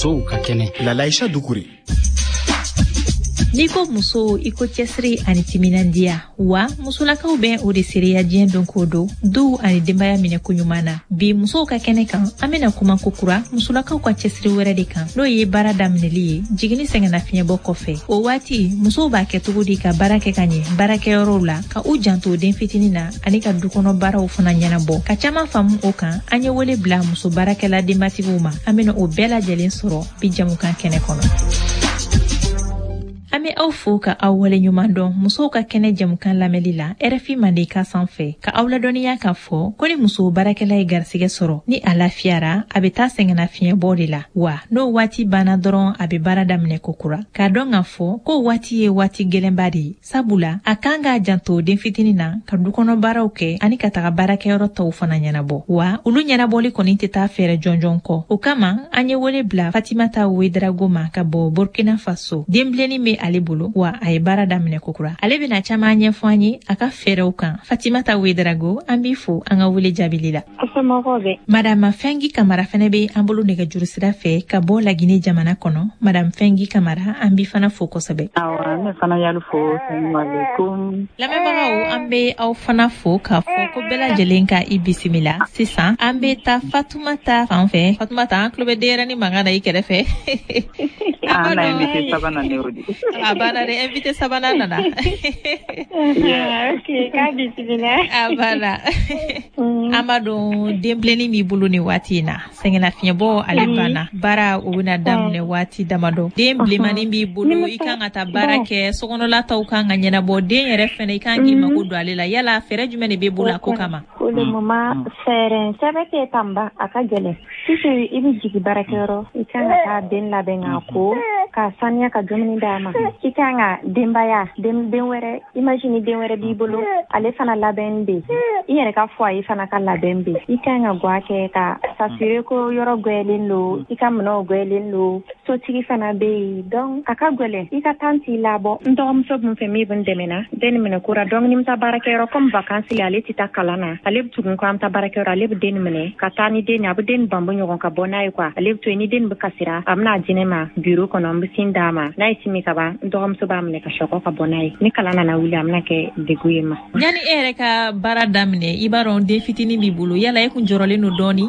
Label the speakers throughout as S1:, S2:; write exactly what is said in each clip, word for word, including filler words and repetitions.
S1: Musow ka kɛnɛ.
S2: Lalaïcha Doucouré.
S3: N'i ko muso, i ko cɛsiri ani timinandiya. Wa musolakaw bɛ o de seereya diɲɛ don ko don, duw ani denbaya minɛ koɲuman na. Bi musow ka kɛnɛ kan, an bɛna kuma kokura musolakaw ka cɛsiri wɛrɛ de kan, n'o ye baara daminɛli ye jiginni sɛgɛnnafiɲɛbɔ kɔfɛ. O waati musow b'a kɛ cogo di ka baara kɛ ka ɲɛ baarakɛyɔrɔw la, ka u janto den fitinin na ani ka dukɔnɔ baaraw fana ɲɛnabɔ? Ka caman faamu o kan, an ye wele bila muso baarakɛla denbatigiw ma. An bɛna o bɛɛ lajɛlen sɔrɔ bi jamukan kɛnɛ kɔnɔ. An bɛ aw fo ka aw waleɲuman dɔn musow ka kɛnɛ jamukan lamɛnli la R F I Mandenkan sanfɛ, ka aw ladɔnniya k'a fɔ ko ni muso baarakɛla ye garisigɛ sɔrɔ, ni a lafiyara, a bɛ taa sɛgɛnnafiɲɛbɔ de la. Wa n'o waati banna dɔrɔn, a bɛ baara daminɛ kokura. K'a dɔn k'a fɔ ko waati ye waati gwɛlɛnba de ye, sabula a kan k'a janto den fitinin na, ka dukɔnɔ baaraw kɛ ani ka taga baarakɛyɔrɔ tɔw fana ɲɛnabɔ. Wa olu ɲɛnabɔli kɔni tɛ taa fɛɛrɛ jɔnjɔn kɔ. O kama, an ye wele bila Fatimata Ouédraogo ma ka bɔ Burkina Faso. Denbilennin bɛ ale bolo, wa a ye baara daminɛ kokura. Ale bɛna caman ɲɛfɔ an ye a ka fɛɛrɛw kan. Fatimata Ouédraogo, an b'i fo an ka wele jaabili la. Madame Fɛngi Kamara fɛnɛ bɛ an bolo nɛgɛjuru sira fɛ ka bɔ Laginɛ jamana kɔnɔ. Madame Fɛngi Kamara, an b'i fana fo kosɛbɛ.
S4: Awɔ, ne fana y'alu fo. Salamualeykum.
S3: Lamɛnbagaw, an bɛ aw fana fo k'a fɔ ko bɛɛ lajɛlen ka i bisimila. Sisan an bɛ taa Fatumata fan fɛ. Fatumata, an tulo bɛ denyɛrɛnin mankan na i kɛrɛfɛ.
S4: An na invité sabanan ne o di.
S3: A banna dɛ, invité sabanan nana.
S5: Ok, k'a bisimila.
S3: A banna. An b'a dɔn denbilennin b'i bolo nin waati in na, sɛgɛnnafiɲɛbɔ ale banna, baara o bɛna daminɛ waati damadɔ. Den bilenmanin b'i bolo, i kan ka taa baara kɛ, sokɔnɔla taw kan ka ɲɛnabɔ, den yɛrɛ fɛnɛ, i kan k'i mako don ale la. Yala fɛɛrɛ jumɛn de b'e bolo a ko kama?
S5: Pour le moment, fɛɛrɛ sɛbɛ tɛ tanba, a ka gɛlɛn. Puisque i bɛ jigin baarakɛyɔrɔ, i kan ka taa den labɛn k'a ko, k'a saniya, ka dumuni d'a ma. I kan ka denbaya, den den wɛrɛ, imagine den wɛrɛ b'i bolo, ale fana labɛn bɛ, i yɛrɛ ka foyer fana ka labɛn bɛ. I kan ka guwa kɛ ka s'assurer ko yɔrɔ gwɛlen don, i ka minɛnw gwɛlen don, sotigi fana bɛ yen. Donc a ka gɛlɛn, i ka temps t'i labɔ. N dɔgɔmuso bɛ n fɛ min bɛ n dɛmɛ na den minɛ kora. Donc ni n bɛ taa baarakɛyɔrɔ, comme vacances la, ale tɛ taa kalan na, ale bɛ tugun ko an bɛ taa baarakɛyɔrɔ, ale bɛ den minɛ ka taa ni den ye, a bɛ den banbɔ ɲɔgɔn ka bɔ n'a ye quoi. Ale bɛ to yen, ni den bɛ kasira, a bɛna di ne ma bureau kɔnɔ, n bɛ sin d'a ma. N'a ye sin min ka ban, n dɔgɔmuso b'a minɛ ka sɔgɔ ka bɔ n'a ye. Ni kalan nana wuli, a bɛna kɛ degun ye ma.
S3: Yanni e yɛrɛ ka baara daminɛ, i b'a dɔn den fitinin b'i bolo, yala e kun jɔrɔlen don dɔɔni?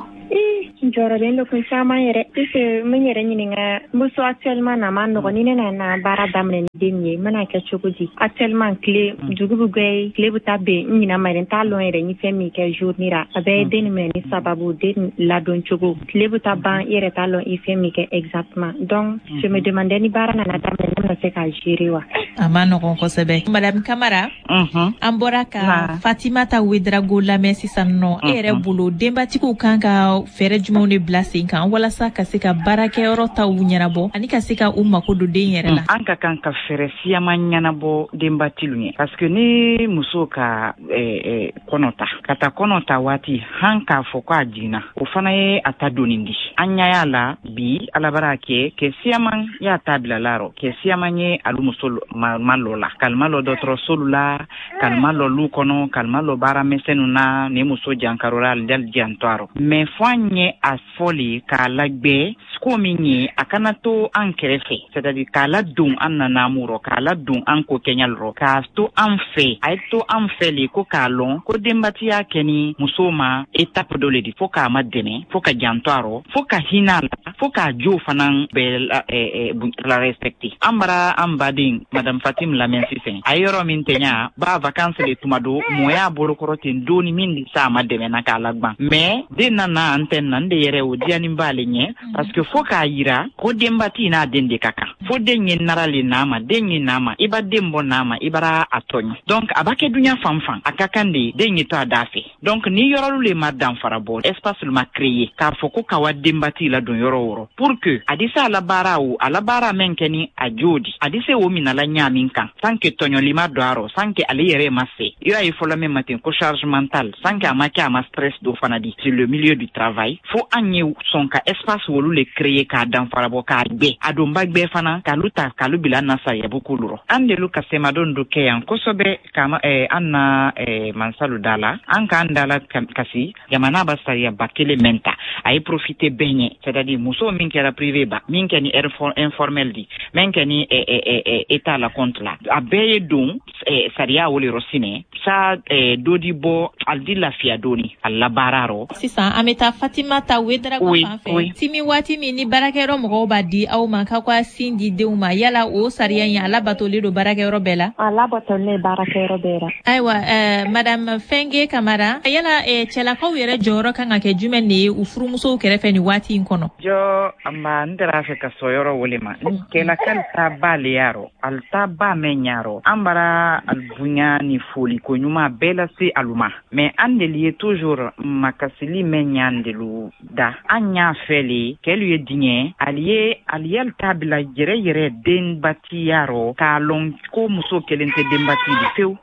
S5: N jɔrɔlen don kun caman yɛrɛ, puisque n bɛ n yɛrɛ ɲininka, n bɛ so actuellement na, a ma nɔgɔn. Ni ne nana baara daminɛ ni den ye, n bɛna kɛ cogo di? Actuellement, tile dugu bɛ gwɛ, tile bɛ taa ben, n ɲinɛ ma yɛrɛ, n t'a lɔn yɛrɛ n ye fɛn min kɛ journée ra. A bɛɛ ye den minɛ ni sababu, den ladon cogo. Tile bɛ taa ban, i yɛrɛ t'a lɔn i ye fɛn min kɛ exactement. Donc je me demandais, ni baara nana daminɛ, ne bɛna se k'a gérer wa?
S3: A ma nɔgɔn kosɛbɛ. Madame Kamara, an bɔra ka Fatimata Ouédraogo lamɛn sisan nɔ. E yɛrɛ bolo, denbatigiw kan ka fɛɛrɛ jumɛnw de bila sen kan walasa ka se ka baarakɛyɔrɔ taw ɲɛnabɔ ani ka se ka u mako don den yɛrɛ la?
S4: An ka kan ka fɛɛrɛ siyaman ɲɛnabɔ denbatilu ye, parce que ni muso ka eh, eh, kɔnɔ ta, ka taa kɔnɔ ta waati han k'a fɔ ko a jiginna, o fana ye a ta doni di. An ɲa y'a la bi, Ala bara kɛ kɛ siyaman y'a ta bila la rɔ, kɛ siyaman ye alu muso ma, ma lɔ la, kalima lɔ dɔgɔtɔrɔsolu la, kalima lɔ lu kɔnɔ, kalima lɔ baara misɛnnu na. Ni muso jankarola, ali dali jantɔ a rɔ, mais fo an ye a fɔ le k'a lagbɛ ko min ye, a kana to an kɛrɛfɛ, c'est à dire k'a ladon an nanamu rɔ, k'a ladon an ko kɛɲal rɔ, k'a to an fɛ. A ye to an fɛ le ko k'a lɔn ko denbatiya kɛ ni muso ma étape dɔ le di, fo k'a ma dɛmɛ, fo ka janto a rɔ, fo ka hinɛ a la, fo k'a jo fana bɛɛ la, eh, eh, la respecter. An bara an baden Madame Fatim lamɛn sisan, a ye yɔrɔ min tɛɲa ba vacances le tuma do, mɔ y'a bolokɔrɔ ten doni min di sa a ma dɛmɛ na k'a lagban, mais den nana an tɛ na n de yɛrɛ o diyanin b'ale ɲɛ, parce que fo k'a yira ko denbati n'a den de ka kan. Fo den ye nara le n'a ma, den ye n'a ma, i ba den bɔ n'a ma, i bara a tɔɲɔ. Donc a b'a kɛ duɲa fan fan, a ka kan de den ye to a da fɛ. Donc ni yɔrɔlu le ma danfara bɔ, espace le ma créer k'a fɔ ko ka wa denbati la don yɔrɔ o yɔrɔ, pour que a di se a la baara, o a la baara mɛn kɛ ni a jo di, a di se o minala ɲa min kan, sans que tɔɲɔli ma don a rɔ, sans que ale yɛrɛ ma se i y'a ye fɔlɔ min ma ten ko charge mentale, sans que a ma kɛ a ma stress dɔ fana di sur le milieu du travail. Fo an ye sɔn ka espace wolu le créer k'a danfara bɔ, k'a gbɛ a donba gbɛ fana. fana k'alu ta k'alu bila an na sariyabu kolu rɔ. An delu ka semadon do kɛ yan kosɛbɛ kama eh, an na eh, mansalu da la an k'an da la kasi jamana ba sariyaba kelen mɛn ta a ye profiter bɛɛ ɲɛ, c'est à dire muso min kɛra privé ba, min kɛ ni informel di, min kɛ ni eh, eh, eh, état la compte la, a bɛɛ ye don eh, sariya wo le rɔ sinɛ sa eh, dɔ di bɔ ali di lafiya dɔɔni a labaara rɔ.
S3: Sisan an bɛ taa Fatimata Ouédraogo fan fɛ. Timi waati min ni baarakɛyɔrɔ mɔgɔw b'a di aw ma k'aw ka sin di denw ma, yala o sariya in a labatolen don baarakɛyɔrɔ bɛɛ la?
S5: A labatolen baarakɛyɔrɔ bɛɛ la.
S3: Ayiwa eh, madame Fenge Kamara, yala eh, cɛlakaw yɛrɛ jɔyɔrɔ kan ka kɛ jumɛn de ye u furumusow kɛrɛfɛ nin waati in kɔnɔ?
S4: Jɔ nba n tɛra fɛ ka sɔn yɔrɔ wele ma. Kɛlakali ta ba le y'a rɔ, ali ta ba mɛn ɲa rɔ, an bara ali bonya ni foli ko ɲuman bɛɛ lase alu ma, mais an deli ye toujours makasili mɛn ɲa delu da. An y'a fɛ le kɛlu ye diɲɛ ali ye ali y'ali ta bila yɛrɛ yɛrɛ denbatiya rɔ, k'a lɔn ko muso kelen tɛ denbati di fewu.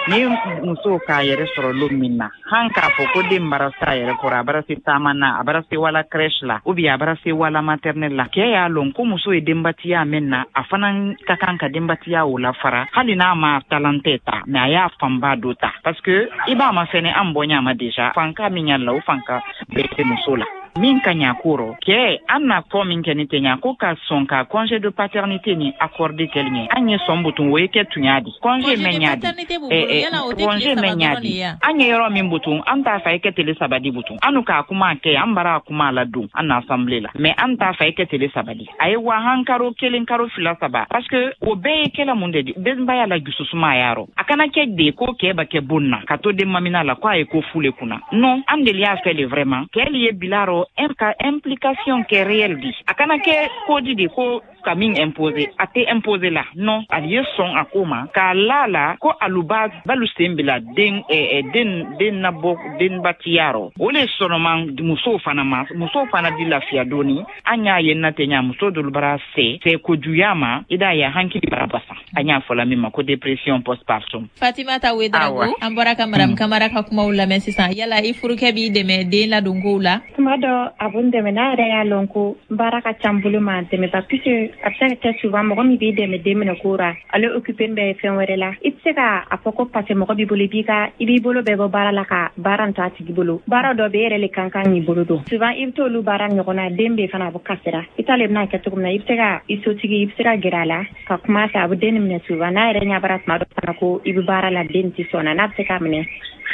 S4: Ni muso k'a yɛrɛ sɔrɔ lon min na, han k'a fɔ ko den bara se a yɛrɛ kɔrɔ, a bara se taama na, a bara se wala crèche la ou bien a bara se wala maternelle la, kɛ y'a lɔn ko muso ye denbatiya min na, a fana ka kan ka denbatiya o la fara, hali n'a ma talentɛ ta, mais a y'a fanba dɔ ta, parce que i b'a ma fɛnɛ an bɔ ɲa ma déjà fanka min y'a la, o fanka bɛɛ tɛ muso la. Min ka ɲa ko rɔ kɛ an na kɔ min kɛ ni tɛ ɲa ko ka sɔn ka congé de paternité ni accordé kɛli ɲɛ, an ye sɔn butun o ye kɛ tunya di congé mɛn ɲa di congé mɛn ɲa di an ye yɔrɔ min butun an t'a fɛ i kɛ tele saba di butun, an k'a kuma kɛ an bara a kuma la don an na assemblée la, mais an t'a fɛ i kɛ tele saba di, a ye wa han karo kelen karo fila saba, parce que o bɛɛ ye kɛla mun de di denbaya la jususuma y'a rɔ. A kana kɛ de ko kɛ ba kɛ bon na ka to den mamina la ko a ye ko fu le kunna, non, an deli y'a fɛ le vraiment kɛli ye bila rɔ ka implication kɛ réelle di, a kana kɛ ko di de ko ka min imposer, a tɛ imposer la, non, ali ye sɔn a ko ma k'a la la ko alu ba balu sen bila den eh, den den nabɔ denbatiya rɔ, o le sɔnɔma musow fana ma, musow fana di lafiya dɔɔni. An y'a ye na tɛ ɲa muso dolu bara se se kojuguya ma, i d'a ye hankili bara basa, an y'a fɔla min ma ko dépression postpartum.
S3: Fatimata Ouédraogo, an bɔra ka madame Kamara ka kumaw lamɛn sisan, yala i furukɛ b'i dɛmɛ den ladonkow la?
S5: Tuma dɔ a b'o dɛmɛ, n'a yɛrɛ y'a lɔn ko baara ka ca n bolo ma dɛmɛ ba, puisque a bɛ se ka kɛ souvent mɔgɔ min b'i dɛmɛ den minɛ ko ra, ale occupé bɛ fɛn wɛrɛ la, i tɛ se ka a fɔ ko parce que mɔgɔ b'i bolo i b'i ka i b'i bolo bɛɛ bɔ baara la ka baara to a tigi bolo, baara dɔ bɛ e yɛrɛ le kan kan k'i bolo don, souvent i bɛ t'olu baara ɲɔgɔn na, den bɛ fana a bɛ kasira, i t'ale bɛna kɛ cogo min na, i bɛ se ka i sotigi i bɛ se ka gɛrɛ a la ka kuma a fɛ, a bɛ den minɛ souvent, n'a yɛrɛ ɲɛ bara tuma dɔ fana ko i bɛ baara la den tɛ sɔn na, n'a bɛ se k'a minɛ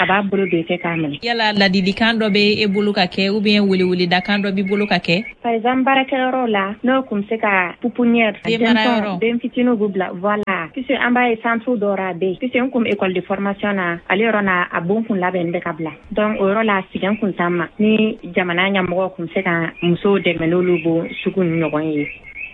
S5: a b'a bolo don i kɛ k'a minɛ.
S3: Yala ladilikan dɔ bɛ e bolo ka kɛ ou bien weleweledakan dɔ b'i bolo ka kɛ?
S5: Par exemple baarakɛyɔrɔ la n'o kun bɛ se ka pouponnière den fitininw b'u bila, voilà, puisque an b'a ye centre dɔ ra a bɛ yen, puisque n kun école de formation na ale yɔrɔ na a bon kun labɛn bɛ ka bila, donc o yɔrɔ la sɛgɛn kun t'an ma, ni jamana ɲɛmɔgɔw kun bɛ se ka musow dɛmɛ n'olu bon sugu ni ɲɔgɔn ye,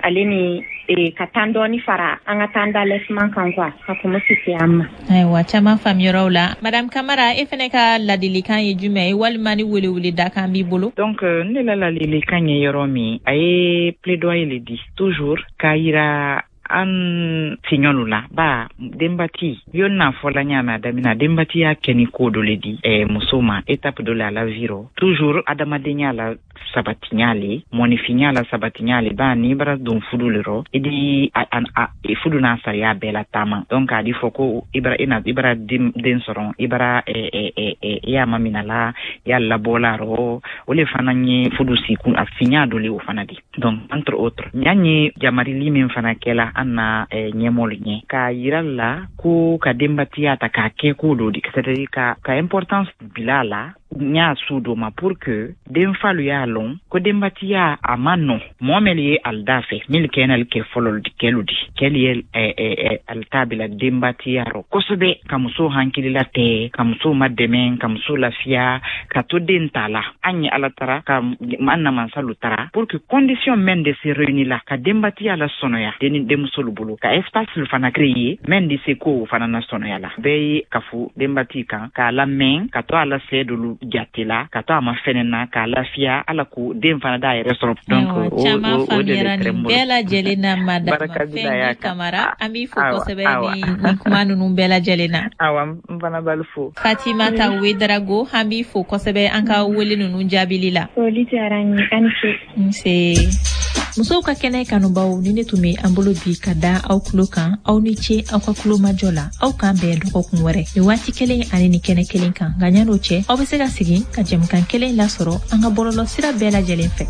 S5: ale ni e, ka tan dɔɔni fara an ka tan d'allaitement kan quoi, ka kun sisi an ma.
S3: Ayiwa, caman faamuyaraw la. Madame Kamara, e fɛnɛ ka ladilikan ye jumɛn ye walima ni weleweledakan b'i bolo?
S4: Donc ne la ladilikan ye yɔrɔ min, a ye plaidoyer le di toujours k'a yira an tiɲɔlu la ba denbati yo n'a fɔla ɲa mɛ a damina denbati y'a kɛ ni ko dɔ le di eh, muso ma étape dɔ le a la vie rɔ, toujours adamadenya la sabatinya le mɔnifinya la sabatinya le ba n'i bara don fudu le rɔ i di a, a, a, fudu n'a sariya bɛɛ la taama, donc a di fɔ ko i bara i na i bara den, den sɔrɔ i bara eh, eh, eh, eh, i y'a mamina la i y'a labɔla rɔ, o le fana ye fudu sikun a finya dɔ le o fana di. Donc entre autres ɲa ye jamarili min fana kɛla an na eh, ɲɛmɔlu ɲɛ k'a yira la ko ka denbatiya ta k'a kɛ ko dɔ di, c'est à dire ka, ka importance bila a la n y'a su dɔ ma pour que denfalu y'a lɔn ko denbatiya a ma nɔ mɔɔ mɛli ye ali da fɛ mili kɛnɛli kɛ fɔlɔ kɛlu di kɛli ye eh, eh, ali ta bila denbatiya rɔ kosɛbɛ, ka muso hankilila tɛ, ka muso madɛmɛ, ka muso lafiya, ka to den ta la. An ye ala tara ka an na mansalu tara pour que condition mɛn de se réunir la ka denbatiya la sɔnɔya den denmusolu bolo, ka espace fana créer mɛn de se ko fana na sɔnɔya la, bɛɛ ye kafu denbati kan k'a lamɛn ka to a la sɛ dolu jate la ka to a ma fɛnɛ na k'a lafiya ala ko den fana d'a yɛrɛ sɔrɔ. Donc o
S3: caman faamuyara nin bɛɛ lajɛlen na. Madame Fengi Kamara, an b'i fo kosɛbɛ ni nin kuma ninnu bɛɛ lajɛlen na.
S4: Awa, n fana b'alu fo.
S3: Fatimata Ouédraogo, an b'i fo kosɛbɛ an ka wele ninnu jaabili la.
S5: Foli diyara n ye, a ni ce.
S3: Nse. Musow ka kɛnɛ kanubaw, ni ne tun bɛ an bolo bi ka da aw tulo kan, aw ni ce aw ka tulomajɔ la. Aw k'an bɛn dɔgɔkun wɛrɛ nin waati kelen ani ni kɛnɛ kelen kan. Nka ɲan'o cɛ, aw bɛ se ka segin ka jɛmukan kelen lasɔrɔ an ka bɔlɔlɔ sira bɛɛ lajɛlen fɛ.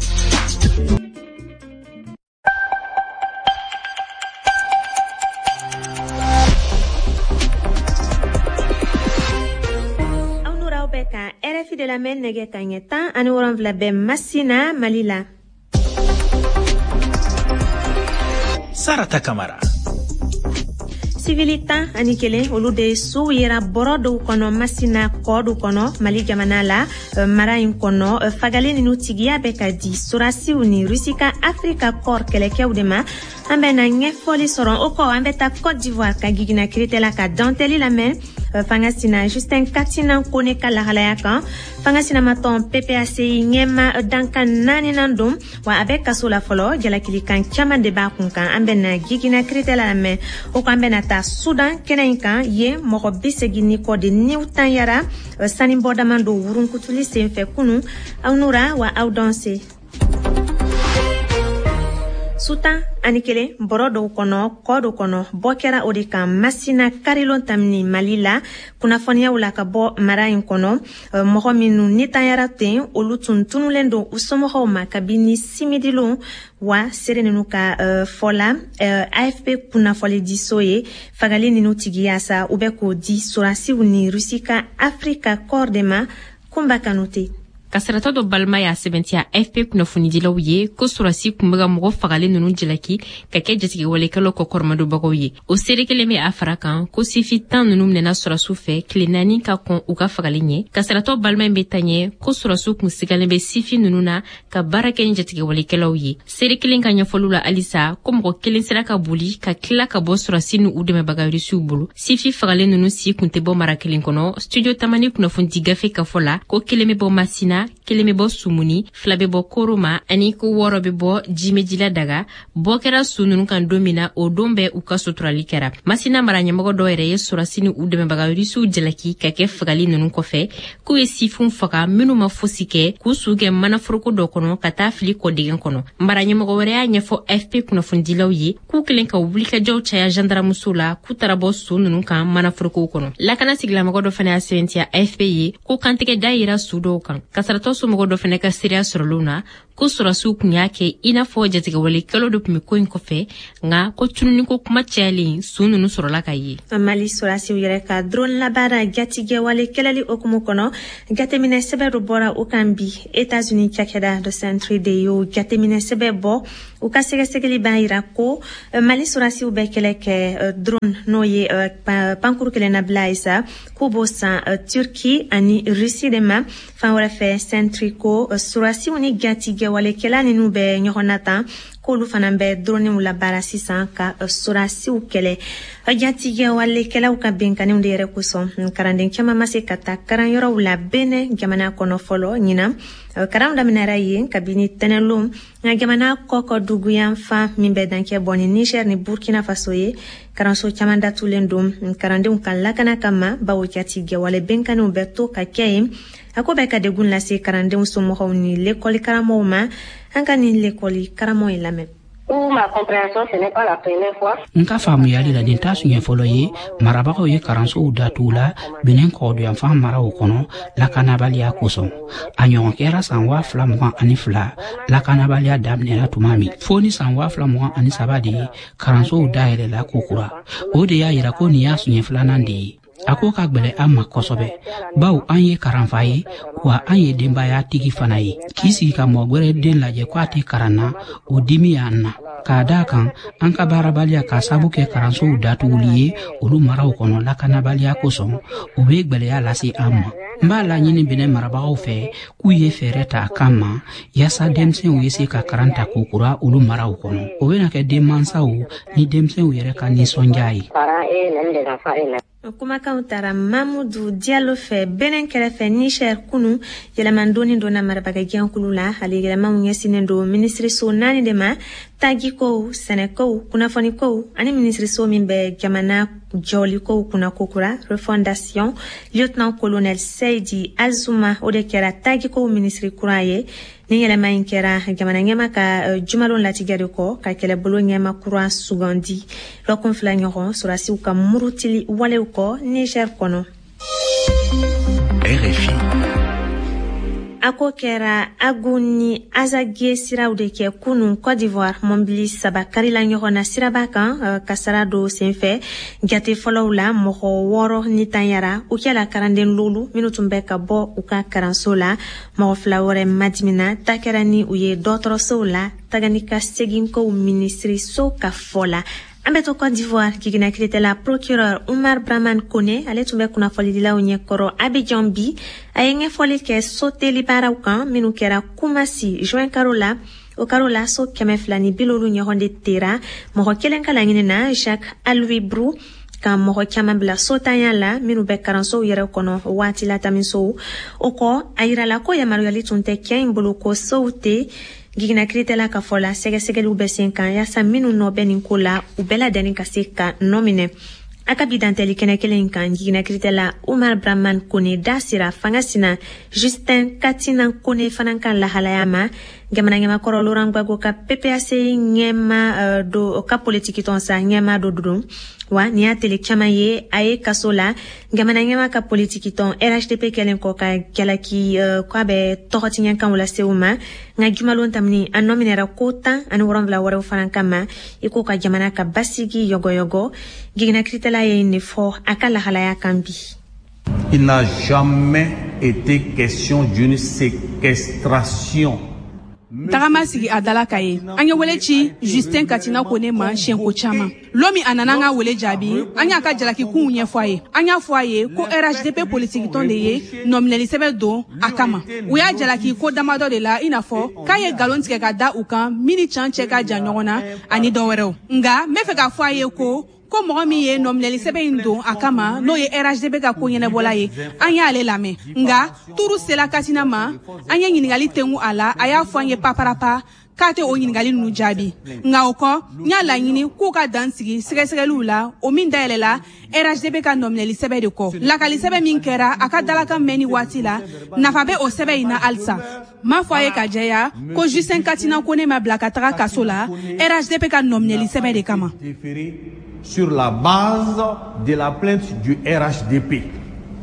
S1: Aw n'aw bɛ ka R F I de lamɛn nɛgɛ kanɲɛ tan ani wolonwula bɛ Masina, Mali la.
S2: Sarata Kamara.
S1: Sivili tan ani kelen olu de suw yera bɔrɔ dɔw kɔnɔ Masina kɔdu kɔnɔ Mali jamana la mara in kɔnɔ. Fagali ninnu tigiya bɛ ka di sorasiw ni Rusi ka Afrika Corps kɛlɛkɛw de ma. An bɛna ɲɛfɔli sɔrɔ o kɔ. An bɛ taa Côte d'Ivoire ka gigina kiritɛla ka dantɛli lamɛn fanga sina Justin Katinan Kone ka lahalaya kan. Fanga sinamatɔn P P A C I ɲɛma dankan naaninan don, wa a bɛ kaso la fɔlɔ, jalakilikan caman de b'a kun kan. An bɛna gigina kiritɛla lamɛn o kɔ. An bɛna taa Sudan kɛnɛ in kan, yen mɔgɔ bi segin ni kɔ de niw tanyara sanibɔ dama don wurunkutuli senfɛ kunu. Aw nura wa aw danse. Sutan ani kelen bɔrɔ dɔw kɔnɔ kɔ dɔ kɔnɔ bɔ kɛra o de kan Masina karilon tamini Mali la. Kunnafoniyaw la ka bɔ mara in kɔnɔ, mɔgɔ minnu nitanyara ten olu tun tunulen don u somɔgɔw ma kabini simidilon. Wa seere ninnu ka fɔ la A F P kunnafonidiso ye, fagali ninnu tigiya sa u bɛ k'o di sorasiw ni Rusi ka Afrika Corps de ma. Kunba Kanute.
S6: Kasaratɔ dɔ balima y'a sɛbɛntiya A F P kunnafonidilaw ye ko sɔrɔsi tun bɛ ka mɔgɔ fagalen ninnu jalaki ka kɛ jatigɛwalekɛlaw kɔkɔrɔmadonbagaw ye. O seere kelen bɛ a fara kan ko sifi tan ninnu minɛna sɔrɔsiw fɛ tile naani ka kɔn u ka fagali ɲɛ. Kasaratɔ balima in bɛ taa ɲɛ ko sɔrɔsiw kun sigalen bɛ sifi ninnu na ka baara kɛ ni jatigɛwalekɛlaw ye. Seere kelen ka ɲɛfɔliw la halisa ko mɔgɔ kelen sera ka boli ka tila ka bɔ sɔrɔsi ni u dɛmɛbaga rusiw bolo. Sifi fagalen ninnu si kun tɛ bɔ mara kelen kɔnɔ. Studio Tamani kunnafonidi gafe ka fɔ la ko kelen bɛ bɔ Masina, kelen bɛ bɔ Sumuni, fila bɛ bɔ Koroma ani ko wɔɔrɔ bɛ bɔ Jimejila daga. Bɔ kɛra su ninnu kan don min na, o don bɛɛ u ka suturali kɛra. Masina mara ɲɛmɔgɔ dɔw yɛrɛ ye sɔrɔsi ni u dɛmɛbaga rusiw jalaki ka kɛ fagali ninnu kɔfɛ, k'u ye sifinw faga minnu ma fosi kɛ, k'u su kɛ manaforoko dɔ kɔnɔ ka taa fili kɔdegɛn kɔnɔ. Mara ɲɛmɔgɔ wɛrɛ y'a ɲɛfɔ A F P kunnafonidilaw ye k'u kelen ka wulikajɔw caya zandaramusow la k'u taara bɔ su ninnu kan manaforokow kɔnɔ. Lakana sigilamɔgɔ dɔ fana y'a sɛbɛntiya A F P ye ko kantigɛ da yera su dɔw kan. Kasaratɔ somɔgɔ dɔ fana ka seereya sɔrɔlenw na ko sɔrɔsiw tun y'a kɛ i n'a fɔ jatigɛwalekɛlaw de tun bɛ ko in kɔfɛ, nka ko tununiko kuma cayalen su ninnu sɔrɔla ka ye.
S1: Mali sɔrɔsiw yɛrɛ ka drone labaara jatigɛwale kɛlɛli hukumu kɔnɔ, jateminɛ sɛbɛn dɔ bɔra o kan bi. États-Unis cakɛda dɔ Sentry de y'o jateminɛ sɛbɛn bɔ. U ka sɛgɛsɛgɛli b'a yira ko Mali sɔrɔsiw bɛ kɛlɛ kɛ drone n'o ye pankuru kelenna ye sa, k'u b'o san Turki ani Russie de ma. Fan wɛrɛ fɛ, Sentry ko sɔrɔsiw ni jatigɛwalekɛla ninnu bɛ ɲɔgɔn na tan, k'olu fana bɛ droniw labaara sisan ka sɔrɔsiw kɛlɛ. Jatigɛwalekɛlaw ka binkanniw de yɛrɛ kosɔn, kalanden caman ma se ka taa kalanyɔrɔw la Benin jamana kɔnɔ fɔlɔ ɲinan. Kalanw daminɛra yen kabini tɛnɛlon, nka jamana kɔkɔ duguyanfan min bɛ dancɛ bɔ ni Niger ni Burkina Faso ye, kalanso caman datulen don kalandenw ka lakana kama, bawo jatigɛwale binkanniw bɛ to ka kɛ yen. A ko bɛ ka degun lase kalandenw somɔgɔw ni lekɔli karamɔgɔw ma. An ka nin lekɔli karamɔgɔ in lamɛn.
S7: N ka faamuyali la, nin t'a siɲɛ fɔlɔ ye marabagaw ye kalansow datugu la Benin kɔgɔduyanfan maraw kɔnɔ lakanabaliya kosɔn. A ɲɔgɔn kɛra san waa fila mugan ani fila lakanabaliya daminɛna tuma min, fo ni san waa fila mugan ani saba de ye kalansow dayɛlɛla kokura. O de y'a yira ko nin y'a siɲɛ filanan de ye. A ko ka gwɛlɛ an ma kosɛbɛ, bawo an ye karanfa ye, wa an ye denbaya tigi fana ye. K'i sigi ka mɔgɔ gwɛrɛ den lajɛ ko a tɛ karan na, o dimi y'an na. K'a da kan an ka baarabaliya k'a sabu kɛ kalansow datuguli ye olu maraw kɔnɔ lakanabaliya kosɔn, o bɛ gwɛlɛya lase an ma. N b'a laɲini Benin marabagaw fɛ k'u ye fɛɛrɛ ta a kan ma yaasa denmisɛnw ye se ka karan ta kokura olu maraw kɔnɔ. O bɛna kɛ denmansaw ni denmisɛnw yɛrɛ ka nisɔndiya ye.
S1: Kumakanw taara Mamudu Diallo fɛ Benin kɛrɛfɛ Niger kunu. Yɛlɛmandonni donna marabagajɛkulu la. Ale yɛlɛmaw ɲɛsinnen don minisiriso naani de ma: tagikow, sɛnɛkow, kunnafonikow ani minisiriso min bɛ jamana jɔlikow kunna kokura refondation. Lieutenant colonel Seydi Azuma o de kɛra tagikow minisiri kura ye. Ni yɛlɛma in kɛra jamana ɲɛma ka jumalon latigɛ de kɔ ka kɛlɛbolo ɲɛma kura sugandi lɔkun fila ɲɔgɔn sɔrɔdasiw ka murutili walew kɔ Niger kɔnɔ.
S2: R F I.
S1: A ko kɛra Agu ni Azaguié siraw de kɛ kunun Côte d'Ivoire mɔbili saba karila ɲɔgɔn na siraba kan kasara dɔ senfɛ. Jate fɔlɔw la mɔgɔ wɔɔrɔ ni tanyara u kɛla karanden lolu minnu tun bɛ ka bɔ u ka karanso la. Mɔgɔ fila wɛrɛ madimina ta kɛra ni u ye dɔgɔtɔrɔsow la tagani ka seginkow minisiriso ka fɔ la. An bɛ to Côte d'Ivoire jiginnakiritɛla procureur Umar Brahman Kone ale tun bɛ kunnafonidilaw ɲɛkɔrɔ Abidjan bi. A ye ɲɛfɔli kɛ soteli baaraw kan minnu kɛra Kumasi juin karo la. O karo la so kɛmɛ fila ni bi loolu ɲɔgɔn de tera mɔgɔ kelen ka laɲini na Jacques Aloui Brou ka mɔgɔ caman bila sotanya la minnu bɛ karansow yɛrɛ kɔnɔ waati latamisow. O kɔ a yirala ko yamaruyali tun tɛ kɛ in bolo ko sow tɛ. Jiginnakiritɛla ka fɔ la sɛgɛsɛgɛliw bɛ sen kan yaasa minnu nɔ bɛ nin ko la u bɛɛ ladɛnni ka se ka nɔ minɛ. A ka bi dantɛli kɛnɛ kelen in kan jiginnakiritɛla Umar Brahman Kone da sera fanga sina Justin Katina Kone fana ka lahalaya ma. Jamana ɲɛmakɔrɔ Laurent Gbagbo ka P P A C ɲɛma do ka politikitɔn sa ɲɛma dɔ don wa nin y'a tele caman ye a ye kaso la. Jamana ɲɛma ka politikitɔn R H D P kɛlen kɔ ka jalaki k'a bɛ tɔgɔtiɲɛkanw lase u ma. Nka jumalon tamini a nɔ minɛra ko tan ani wɔrɔnwula wɛrɛw fana kama i ko ka jamana ka basigi yɔgɔyɔgɔ. Jiginnakiritɛla ye nin fɔ a ka lahalaya kan bi.
S8: Il n'a jamais été question d'une séquestration.
S9: Tagama sigi a dala ka ye an ye wele ci Justin Katina Kone ma siɲɛko caman. Lon min a nana an ka wele jaabi, an y'a ka jalakikunw ɲɛfɔ a ye. An y'a fɔ a ye ko R H D P politikitɔn de ye nɔminɛli sɛbɛn don a kama. U y'a jalaki ko damadɔ de la, i n'a fɔ k'a ye nkalon tigɛ ka da u kan min ni can cɛ ka jan ɲɔgɔn na ani dɔ wɛrɛw. Nka n bɛ fɛ k'a fɔ a ye ko ko mɔgɔ min ye nɔminɛli sɛbɛn in don a kama n'o ye R H D P ka ko ɲɛnabɔla ye, an y'ale lamɛn. Nka turu sela Katina ma, an ye ɲininkali tengu a la, a y'a fɔ an ye paparapa k'a tɛ o ɲininkali ninnu jaabi. Nka o kɔ n y'a laɲini k'u ka dan sigi sɛgɛsɛgɛliw la o min dayɛlɛla R H D P ka nɔminɛli sɛbɛn de kɔ. Lakali sɛbɛn min kɛra a ka dalakan mɛnni waati la, nafa bɛ o sɛbɛn in na halisa. M'a fɔ a ye ka jɛya ko Justin Katina Kone ma bila ka taga kaso la R H D P ka nɔminɛli sɛbɛn de kama.
S8: Sur la base de la plainte du R H D P.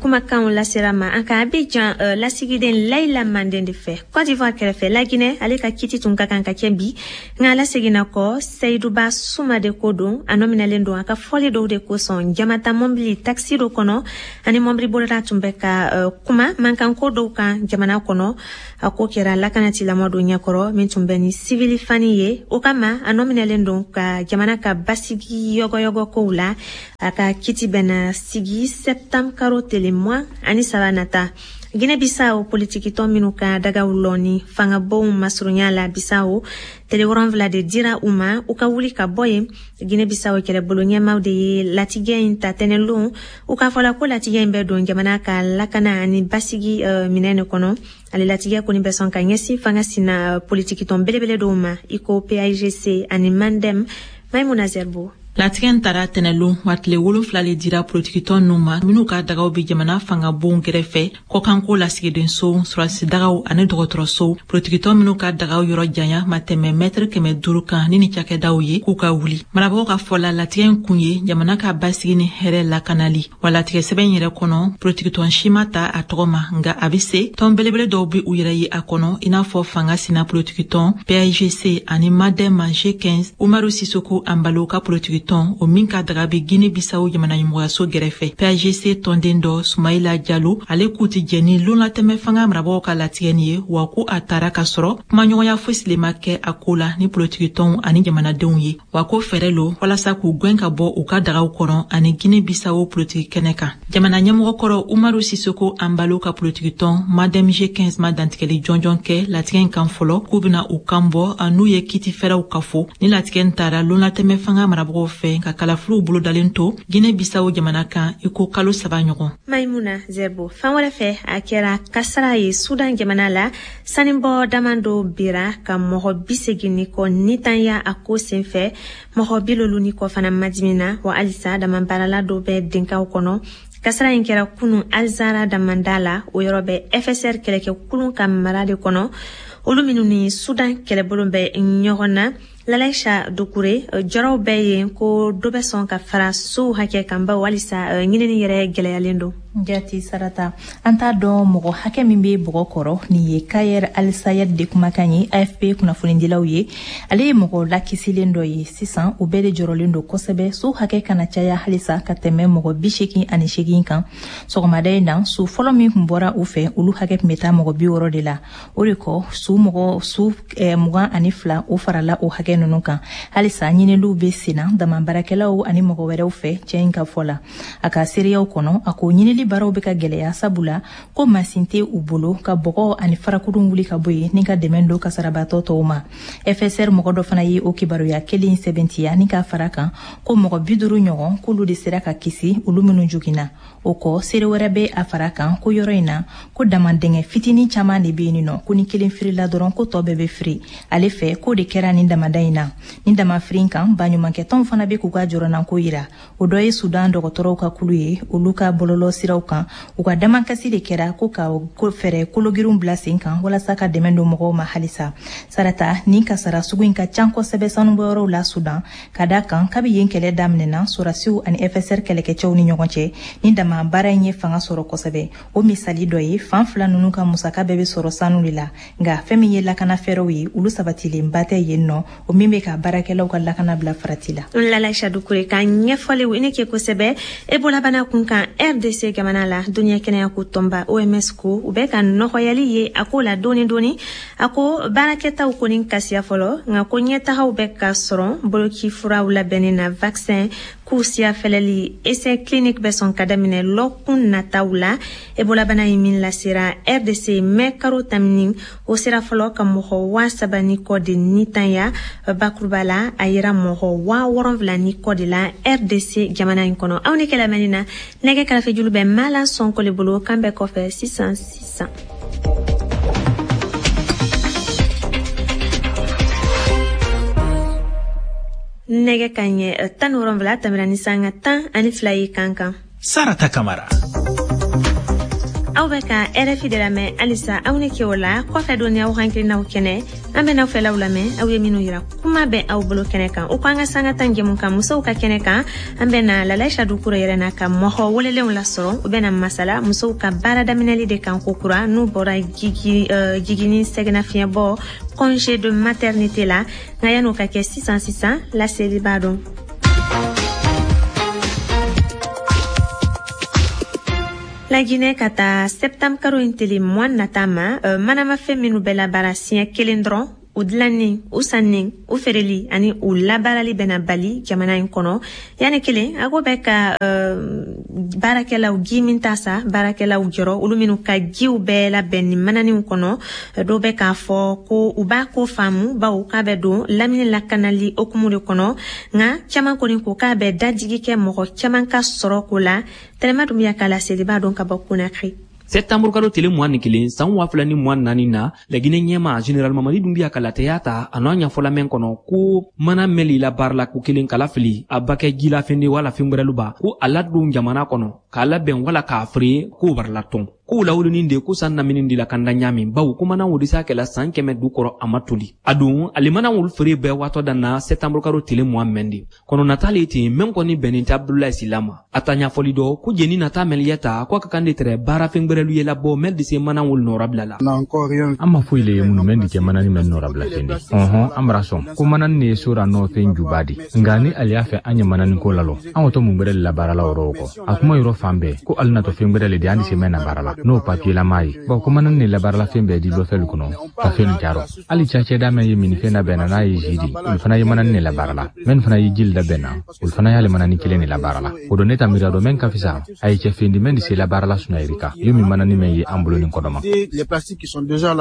S1: Kumakanw lasera ma an ka Abidjan uh, lasigiden Layila Manden de fɛ. Côte d'Ivoire kɛrɛfɛ Laginɛ ale ka kiti tun ka kan ka kɛ bi nka laseginna kɔ Seyiduba Suma de ko don. A nɔminɛlen don a ka fɔli dɔw de kosɔn jamata mɔbili taxi dɔ kɔnɔ ani mɔbili bolila tun bɛ ka uh, kuma mankanko dɔw kan jamana kɔnɔ. A ko kɛra lakanatilamɔ dɔ ɲɛkɔrɔ min tun bɛ ni sivili fani ye. O kama a nɔminɛlen don ka jamana ka basigi yɔgɔyɔgɔ kow la. A ka kiti bɛna sigi septembre karo tele mugan ani saba nata. Guinée Bissau politikitɔn minnu ka dagaw lɔni fangabonw masurunya la Bissau tele wɔrɔnwula de dira u ma u ka wuli ka bɔ yen. Guinée Bissau kɛlɛbolo ɲɛmaw de ye latigɛ in ta tɛnɛlon. U k'a fɔla ko latigɛ in bɛ don jamana ka lakana ani basigi uh, minɛn de kɔnɔ. Ale latigɛ kɔni bɛ sɔn ka ɲɛsin fanga sina uh, politikitɔn belebele dɔw ma i ko P A I G C ani Mandem. Maimuna Zerbo.
S10: Latigɛ in tara tɛnɛlon wa tile wolonfila le dira politikitɔn ninnu ma minnu ka dagaw bɛ jamana fangabonw kɛrɛfɛ kɔkanko lasigidenso sɔrɔsidagaw ani dɔgɔtɔrɔsow. Politikitɔn minnu ka dagaw yɔrɔ janya ma tɛmɛ mɛtiri kɛmɛ duuru kan ni ni cakɛdaw ye k'u ka wuli. Marabagaw ka fɔ la latigɛ in kun ye jamana ka basigi ni hɛrɛ lakanali. Wa latigɛ sɛbɛn yɛrɛ kɔnɔ politikitɔn si ma ta a tɔgɔ ma nka a bɛ se tɔn belebele dɔw bɛ u yɛrɛ ye a kɔnɔ i n'a fɔ fanga sina politikitɔn P A I G C ani Madem G quinze Umaru Sisoko Anbalo ka politiki tɔn o min ka daga bɛ Guinée Bissau jamana ɲɛmɔgɔyaso gɛrɛfɛ. P A G C tɔnden dɔ Sumayila Jalo ale k'u ti jɛ ni lonlatɛmɛ fanga marabagaw ka latigɛ nin ye wa ko a taara ka sɔrɔ kumaɲɔgɔnya fosi le ma kɛ a ko la ni politikitɔnw ani jamanadenw ye wa ko fɛɛrɛ lo walasa k'u gwɛn ka bɔ u ka dagaw kɔnɔ ani Guinée Bissau politiki kɛnɛ kan. Jamana ɲɛmɔgɔ kɔrɔ Umaru Sisoko Anbalo ka politikitɔn Madem G quinze ma dantigɛli jɔnjɔn kɛ latigɛ in kan fɔlɔ k'u bɛna u kan bɔ n'u ye kiti fɛrɛw kafo ni latigɛ in taara lonlatɛmɛ fanga marabagaw fɛ ka kalafiliw bolodalen to Guinée Bissau jamana kan i ko kalo saba ɲɔgɔn.
S1: Maimuna Zerbo. Fan wɛrɛ fɛ a kɛra kasara ye Sudan jamana la sanibɔ dama dɔ bira ka mɔgɔ bi segin ni kɔ nitanya a ko senfɛ. Mɔgɔ bi lolu ni kɔ fana madimina wa halisa damabaarala dɔ bɛ denkaw kɔnɔ. Kasara in kɛra kunu Alzara damanda la o yɔrɔ bɛ F S R kɛlɛkɛkulun ka mara de kɔnɔ. Olu minnu ni Sudan kɛlɛbolo bɛ ɲɔgɔn na. Lalaïcha Doucouré, jɔrɔw bɛ yen ko dɔ bɛ sɔn ka fara sow hakɛ kan bawo halisa ɲinini yɛrɛ gɛlɛyalen don.
S3: Jati Sarata, an t'a dɔn mɔgɔ hakɛ min bɛ bɔgɔ kɔrɔ. Nin ye Kayer Al-Sayed de kumakan ye A F P kunnafonidilaw ye. Ale ye mɔgɔ lakisilen dɔ ye sisan, u bɛɛ de jɔrɔlen don kosɛbɛ so hakɛ kana caya halisa ka tɛmɛ mɔgɔ bi seegin ani seegin kan. Sɔgɔmada in na, su fɔlɔ min tun bɔra u fɛ, olu hakɛ tun bɛ taa mɔgɔ bi wɔɔrɔ de la. O de kɔ, su mɔgɔ su eh, mugan ani fila o farala o hakɛ ninnu kan. Halisa ɲiniliw bɛ senna dama baarakɛlaw ani mɔgɔ wɛrɛw fɛ cɛ in ka fɔ la. A ka seereyaw kɔnɔ, a ko ɲinili baaraw bɛ ka gɛlɛya sabula ko masin tɛ u bolo ka bɔgɔ ani farakurun wuli ka bɔ yen ni ka dɛmɛ don kasarabatɔ tɔw ma. F S R mɔgɔ dɔ fana ye o kibaruya kelen sɛbɛntiya ni k'a fara kan ko mɔgɔ bi duuru ɲɔgɔn k'olu de sera ka kisi olu minnu joginna. O kɔ, seere wɛrɛ bɛ a fara kan ko yɔrɔ in na ko damandɛngɛ fitinin caman de bɛ yen nɔ, ko ni kelen firila dɔrɔn ko tɔ bɛɛ bɛ firi. Ale fɛ k'o de kɛra nin damada in na. Ni damafirin kan, baɲumankɛtɔnw fana bɛ k'u ka jɔrɔnanko yira. O dɔ ye Sudan dɔgɔtɔrɔw ka kulu ye, olu ka bɔlɔlɔ siraw kan u ka damakasi de kɛra ko ka fɛɛrɛ kologirinw bila sen kan walasa ka dɛmɛ don mɔgɔw ma halisa. Sarata, nin kasara sugu in ka ca kosɛbɛ sanubɔyɔrɔw la Sudan, ka da kan kabi yen kɛlɛ daminɛna sɔrɔdasiw ani F S R kɛlɛkɛcɛw ni ɲɔgɔn cɛ, ni dama baara in ye fanga sɔrɔ kosɛbɛ. O misali dɔ ye, fan fila ninnu ka musaka bɛɛ bɛ sɔrɔ sanu de la, nka fɛn min ye lakana fɛɛrɛw ye, olu sabatilenba tɛ yen nɔ, o min bɛ ka baarakɛlaw ka lakana bila farati la.
S1: Lalaïcha Doucouré ka ɲɛfɔliw i ni ke kosɛbɛ. Ebola bana kun kan R D C jamana la, duniya kɛnɛyako tɔnba O M S ko u bɛ ka nɔgɔyali ye a ko la dɔɔni dɔɔni. A ko baarakɛtaw kɔni kasiya fɔlɔ, nka ko ɲɛtagaw bɛ ka sɔrɔ boloci furaw labɛnni na, vaccin k'u siya fɛlɛli essai clinique bɛ sɔn ka daminɛ lɔkun nataw la. Ebola bana ye min lasera R D C mɛ karo tamini, o sera fɔlɔ ka mɔgɔ waa saba ni kɔ de nitanya. Bakuruba la, a yera mɔgɔ waa wɔrɔnfila ni kɔ de la R D C jamana in kɔnɔ. Aw ni kɛlɛmɛni na, nɛgɛ karafejulu bɛ Mala Sɔnkole bolo. Kan bɛɛ kɔfɛ sisan sisan. Nɛgɛ ka ɲɛ tan ni wɔrɔnfila tɛmɛna ni sanga tan ani fila ye kan kan.
S2: Sarata Kamara.
S1: Aw bɛ ka R F I de lamɛn halisa. Aw ni ke o la kɔfɛ don aw hakilinaw kɛnɛ, an bɛ n'aw fɛlaw lamɛn, aw ye minnu yira kuma bɛ aw bolo kɛnɛ kan. O ko an ka sanga tan jɛmu kan musow ka kɛnɛ kan, an bɛ na Lalaïcha Doucouré yɛrɛ n'a ka mɔgɔ welelenw lasɔrɔ. U bɛ na masala musow ka baara daminɛli de kan ko kura n'u bɔra jigi jiginni sɛgɛnnafiɲɛbɔ congé de maternité la. Nka yan'o ka kɛ sisan sisan, laseli b'a dɔn. La Guinée ka taa septembre karo in tele mugan nata ma, uh, manamafɛn minnu bɛ labaara siɲɛ kelen dɔrɔn, u dilanni, u sanni, u feereli ani u labaarali bɛna bali jamana in kɔnɔ. Yanni kelen, a ko bɛ ka uh, baarakɛlaw ji min ta sa, baarakɛlaw jɔrɔ, olu minnu ka jiw bɛɛ labɛn ni mananiw kɔnɔ. Dɔw bɛ k'a fɔ ko u b'a ko faamu bawo k'a bɛ don lamini lakanali hokumu de kɔnɔ, nka caman kɔni ko k'a bɛ dajigi kɛ mɔgɔ caman ka sɔrɔ ko la. Tɛnɛma Dunbiya ka laseli b'a dɔn ka bɔ Conakry.
S11: Septembre kalo tele mugan ni kelen san waa fila ni mugan naani na, Laginɛ ɲɛma Général Mamadi Doumbouya ka latɛya ta a n'a ɲɛfɔla mɛn kɔnɔ ko mana mɛli la baara la ko kelen kala fili a ba kɛ jilafɛn de wala fɛn wɛrɛlu ba ko a ladon jamana kɔnɔ k'a labɛn wala k'a feere k'o barala tɔn k'o lawulinin de ko san namini de la kanda ɲamin bawo ko mana wuli sa kɛla san kɛmɛ du kɔrɔ a ma toli a don ale mana wuli feere bɛɛ waatɔ dan na septembre kalo tele mugan mɛn de kɔnɔ nata le ten mɛn kɔni bɛnnin tɛ Abdoulaye Sylla ma a ta ɲɛfɔli dɔ ko jeni nata mɛliya ta ko a ka kan de tɛrɛ baara fɛn gwɛrɛlu ye labɔ mɛn de se mana wuli nɔrabila la
S12: an ma foyi le ye minnu mɛn di kɛ manani mɛn nɔrabila ten de ɔhɔn an bara sɔn ko manani ne ye sora nɔ fɛn juba di nka ni ale y'a fɛ an ye manani ko lalɔ an to mun gwɛrɛ le la baara la yɔrɔ o kɔ a kuma yɔrɔ fan bɛɛ ko ale natɔ fɛn gwɛrɛ le di an di se mɛn na baara la n'o papiyelama ye bawo ko manani ne labaarala fɛn bɛɛ di lɔfɛlu kɔnɔ ka fɛn jarɔ hali cacɛda mɛn ye minifɛn labɛnna n'a ye zi di olu fana ye manani ne labaara la mɛn fana ye jili labɛnna olu fana y'ale manani kelen ne labaara la o don ne ta miiriya dɔ mɛn ka fisa a ye cɛ fen di mɛn di se labaara la sunayirika yo min manani mɛn ye an bolo nin kɔnɔma.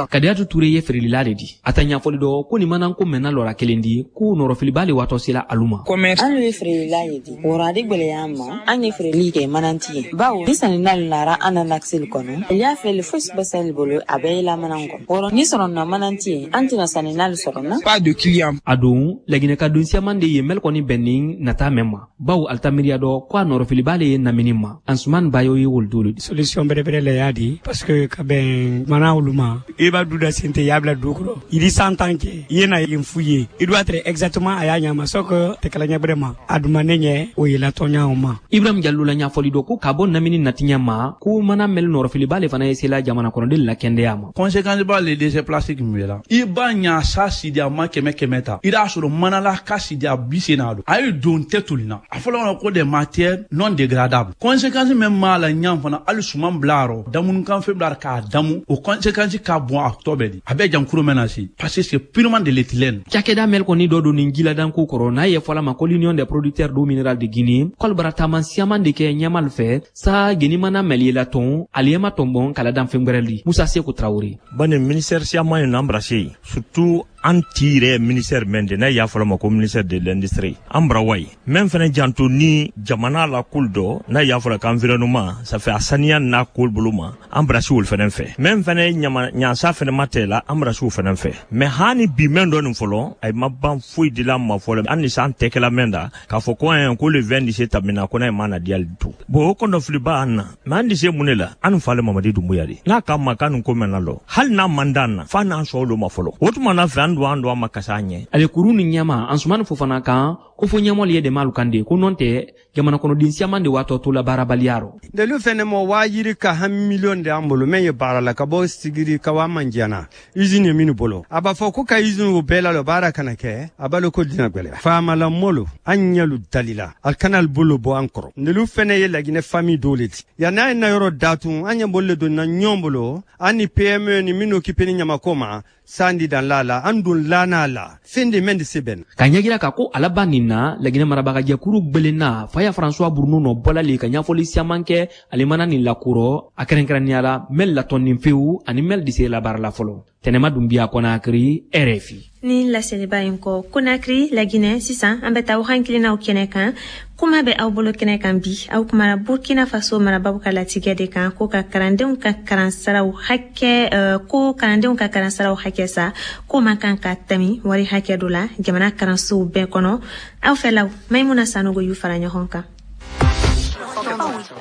S11: Kadiyatu Ture ye feerelila de di a ta ɲɛfɔli dɔ ko nin manan ko mɛnna lɔra kelen di ko nɔrɔfiliba le watɔ sela alu ma.
S13: An ye feerelila ye di wɔrɔ a di gwɛlɛya an ma an ye feereli kɛ mananti ye bawo ni sanni nara an na lakiseli kɔnɔ. kɔnɔ i y'a fɛ fosi bɛ sali bolo a bɛɛ ye mana kɔnɔ wɔrɔ ni sɔrɔ na mana tɛ yen an tɛna sanni n'ale sɔrɔ na
S11: pas de client a don laginɛ ka don siaman de ye mɛli kɔni bɛnnin nata mɛn ma bawo alita miiriya dɔ ko a nɔrɔfiliba le ye namini ma Ansuman Bayo ye wolodolu
S14: solution bɛrɛbɛrɛ la y'a di parce que ka bɛn mana olu ma i b'a du da sen tɛ i y'a bila du kɔrɔ i di san tan kɛ i ye na yen f'u ye i doit être exactement a y'a ɲama sɔ que tɛ kala ɲɛbɛrɛ ma a duma ne ɲɛ o ye latɔnya o ma.
S11: Ibrahim Jallo la ɲɛfɔli dɔ ko ka bɔ namini natiɲɛ ma ko mana mɛli nɔrɔfiliba le fana ye sela jamana kɔnɔden la kɛndɛya ma.
S15: Conséquence b'a le déchet plastique min bɛ la i b'a ɲa sa sidi a ma kɛmɛ kɛmɛ ta i b'a sɔrɔ manala ka sidi a bi sen n'a don a ye don tɛ toli na a fɔlɔ ko des matières non dégradables conséquence min b'a la ɲan fana hali suman bila yɔrɔ damunukan fɛn bila k'a damu o conséquence ka bon a tɔ bɛɛ di a bɛɛ jankuro mɛn na se parce que c'est purement de l'éthylène.
S11: Cakɛda mɛli kɔni dɔ don nin jiladanko kɔrɔ n'a ye fɔla ma ko l'Union des producteurs d'eau minérale de Guinée k'olu bara taama siaman de kɛ ɲɛmal fɛ sa geni mana mɛli la tɔn aliyema tɔnbɔn kala dan fɛn gwɛrɛ li Musa Seku Traoré.
S16: Bani ministère siaman ye embrasé surtout an ti yɛrɛ ministère mɛn de n'a y'a fɔla ma ko ministère de l'industrie an bara wa ye mɛn fɛnɛ janto ni jamana la kol dɔ n'a y'a fɔla k'environnement ça fait a saniya n'a kol bolo ma an bara si olu fɛnɛ fɛ mɛn fɛnɛ ɲama ɲansa fɛnɛ ma tɛ la an bara si o fɛnɛ fɛ mais hani bi mɛn dɔ nin fɔlɔ a ma ban foyi de la ma fɔlɔ an ni san tɛ kɛla mɛn da k'a fɔ ko an ko le vingt dix tamina ko n'a ye ma na diyali to bon o kɔnɔfiliba an na mais an di se mun de la an fa le Mamadi Dumbuya de n'a ka ma k'an ko mɛn na lɔ hali n'a man d'an na f'a n'an sɔn olu ma fɔlɔ o tuma na fɛ an don an don an ma kasa an ɲɛ.
S11: Ale kuru ni ɲɛma Ansumani Fofana kan ko fo ɲɛmɔli ye dɛmɛ alu kan de ko nɔn tɛ jamana kɔnɔden siaman de waatɔ to la baarabaliya rɔ.
S17: Delu fɛnɛ ma waa yiri ka han miliyɔn de an bolo mɛn ye baara la ka bɔ sigiri ka waa manjana usine ye minnu bolo a b'a fɔ ko ka usine o bɛɛ la lɔ baara kana kɛ a b'a ko dina gwɛlɛya faamala molo an ɲɛlu dalila al kana al bolo bɔ an kɔrɔ ndelu fɛnɛ ye laginɛ famille dɔw le ti yan n'a ye na yɔrɔ datun an ɲɛ bolo le don na ɲɔgɔn bolo an ni P M E ni minnu occupé ni ɲamako ma sandi dan la la an dun lana la fɛn de mɛn de se bɛn.
S11: Ka ɲɛjira ka ko alaba nin na laginɛ marabagajɛkuru gbelenna faya François Bruno nɔ bɔla le ka ɲɛfɔli siaman kɛ ale mana nin lakurɔ a kɛrɛnkɛrɛnnenya la mɛl latɔnnin fewu ani mɛl dise la baara la fɔlɔ. Tɛnɛma Dunbiya Conakry R F I.
S1: Ni laseliba in kɔ Conakry Laginɛ sisan an bɛ taa waxan kelennaw kɛnɛ kan kuma bɛ aw bolo kɛnɛ kan bi aw kumara Burkina Faso marabaw ka latigɛ de kan ko ka kalandenw ka kalansaraw hakɛ uh, ko kalandenw ka kalansaraw hakɛ sa ko man kan ka tɛmɛ wari hakɛ dɔ la jamana kalansow bɛɛ kɔnɔ aw fɛlaw Maimuna Sanogo y'u fara ɲɔgɔn kan.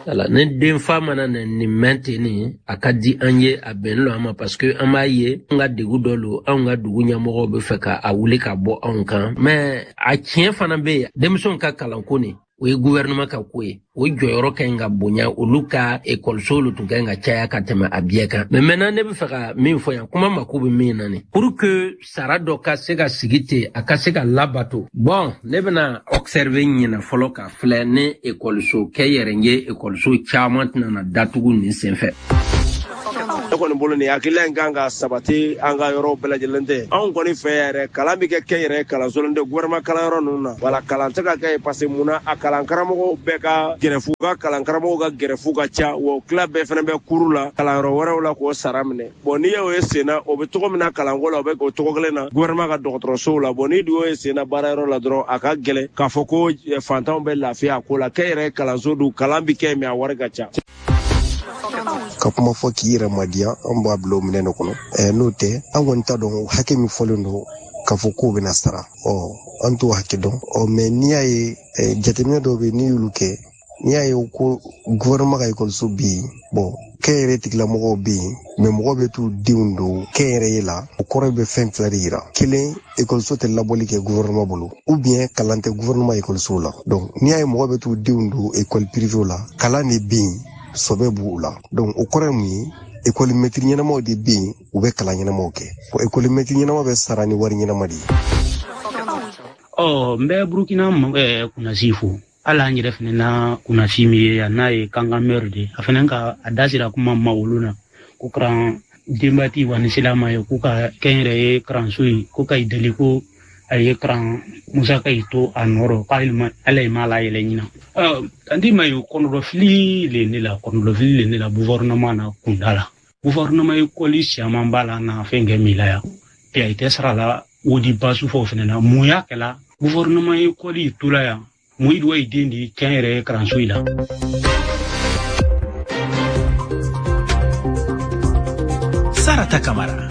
S18: Ala ni denfa mana na nin mɛn ten nin a ka di an ye a bɛn lɔ an ma parce que an b'a ye an ka degun dɔ lo anw ka dugu ɲɛmɔgɔw bɛ fɛ ka a wuli ka bɔ anw kan mais a tiɲɛ fana bɛ yen denmisɛnw ka kalanko nin o ye gouvernement ka ko ye o jɔyɔrɔ ka ɲi ka bonya olu ka ekɔliso olu tun ka ɲi ka caya ka tɛmɛ a bɛɛ kan mais maintenant ne bɛ fɛ ka min fɔ yan kuma mako bɛ min na nin pour que sara dɔ ka se ka sigi ten a ka se ka labato bon ne bɛna observer ɲinɛ fɔlɔ ka filɛ ni ekɔliso kɛ yɛrɛ ye ekɔliso caman tɛna na datugu nin senfɛ.
S19: Ne kɔni bolo nin hakilila in kan ka sabati an ka yɔrɔ bɛɛ lajɛlen tɛ anw kɔni fɛ yɛrɛ kalan bɛ kɛ kɛ yɛrɛ kalanso tɛ gouvernement kalanyɔrɔ ninnu na wala kalan tɛ ka kɛ parce que munna a kalan karamɔgɔw bɛɛ ka gɛrɛfu ka kalan karamɔgɔw ka gɛrɛfu ka ca wa o tila bɛɛ fana bɛ kuru la kalanyɔrɔ wɛrɛw la k'o sara minɛ bon n'i y'o ye sen na o bɛ cogo min na kalanko la o bɛ o cogo kelen na gouvernement ka dɔgɔtɔrɔsow la bon n'i dun y'o ye sen na baarayɔrɔ la dɔrɔn a ka gɛlɛn k'a fɔ ko fantanw bɛ lafiya a ko la kɛ yɛrɛ kalanso dun kalan bɛ kɛ mais a wari ka ca.
S20: Ka kuma fɔ k'i yɛrɛ madiya an b'a bila o minɛn de kɔnɔ ɛ n'o tɛ an kɔni t'a dɔn hakɛ min fɔlen don k'a fɔ k'o bɛna sara ɔ an t'o hakɛ dɔn ɔ mais n'i y'a ye jateminɛ dɔw bɛ yen n'i y'olu kɛ n'i y'a ye ko gouvernement ka ekɔliso bɛ yen bon kɛnyɛrɛye tigilamɔgɔw bɛ yen mais mɔgɔw bɛ t'u denw don kɛnyɛrɛye la o kɔrɔ bɛ fɛn fila de yira kelen ekɔliso tɛ labɔli kɛ gouvernement bolo ou bien kalan tɛ gouvernement ekɔlisow la donc n'i y'a ye mɔgɔ bɛ t'u denw don ekɔli privéw la kalan de bɛ yen sɔbɛ b'u la donc o kɔrɔ ye mun ye ekɔli mɛtiri ɲɛnamaw de bɛ yen u bɛ kalan ɲɛnamaw kɛ ekɔli mɛtiri ɲɛnama bɛ sara ni wari ɲɛnama de ye.
S21: Ɔ n bɛ Burukina kunnasi fo hali an yɛrɛ fana na kunnasi min ye yan n'a ye kankan mɛri de a fana ka a da sera kuma ma olu na ko karan denbati wa ni silama ye k'u ka kɛnyɛrɛye karanso ye ko ka i deli ko a ye karan musaka yi to a nɔrɔ k'ale ala ye ma la yɛlɛ ɲina andi ma ye kɔnɔdɔfili le ne la kɔnɔdɔfili le ne la gouvernement na kunda la gouvernement ekɔli siaman b'a la na fɛn kɛ min la yan pe a tɛ sara la o di basu fɔ fɛnɛ na mun y'a kɛla gouvernement ekɔli to la yan mun yi i den di kɛnyɛrɛye karanso yi la.
S2: Fatoumata Kamara.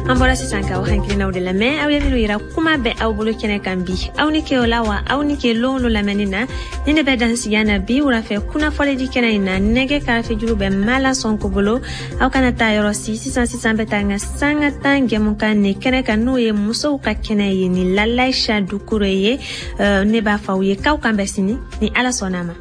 S1: An bɔra sisan k'aw hakilinaw de lamɛn, aw ye minnu yira kuma bɛ aw bolo kɛnɛ kan bi. Aw ni ke o la wa aw ni ke lon lo lamɛnni na. Ni ne bɛ dan sigiya na bi wulafɛ kunnafɔlidi kɛnɛ in na. Nɛgɛ karafejuru bɛ Mala Sɔnko bolo. Aw kana taa yɔrɔ si. Sisan sisan bɛ taa n ka sanga tan jɛmukan ne kɛnɛ kan, n'o ye musow ka kɛnɛ ye ni Lalaïcha Dukure ye. Ne b'a fɔ aw ye k'aw kan bɛn sini ni Ala sɔnna a ma.